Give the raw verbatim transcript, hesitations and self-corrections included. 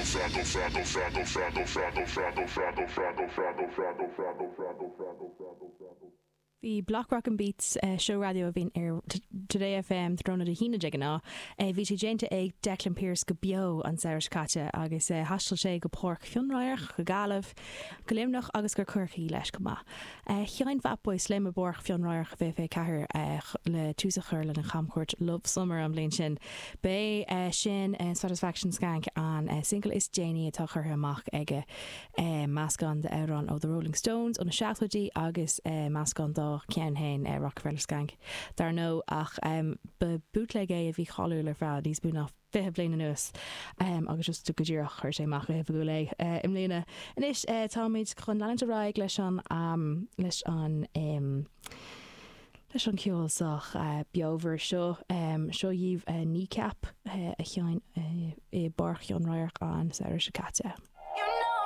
fado, fado, fado, fado, fado, fado, fado, fado, fado, fado, fado, fado, fado, fado, fado. Bhí Block Rock and Beats seó raidió a bhíonn ar Today F M tráthnóna Dé hAoine de ghnáth. Bhí sé déanta ag Declan Pearse go beo an samhradh seo caite agus thaistil sé go Páirc Chionn Radharc, go Gaillimh, go Luimneach agus go Corcaigh leis go maith. Sheinn Fatboy Slim i bPáirc Chionn Radharc fiche ceathair le tús a chur lena chamchuairt Love Summer an bhliain sin. B'é sin Satisfaction Skank an single is déanaí atá curtha amach aige, meascán d'amhrán ó The Rolling Stones ó na seachtóidí agus meascán dá cheann féin, Rockefeller Skank. Dar ndóigh, ach um, ba bootleg é a bhí cáiliúil ar feadh níos mó ná fiche bliain anuas um, agus just go díreach chuir sé amach go hoifigiúil é uh, i mbliana. Anois uh, táimid chun leanúint ar aghaidh leis an um, leis an um, leis an ceol sách uh, beomhar seo um, seo dhíobh uh, Kneecap uh, a sheinn uh, i bPáirc Chionn Radharc an samhradh seo caite.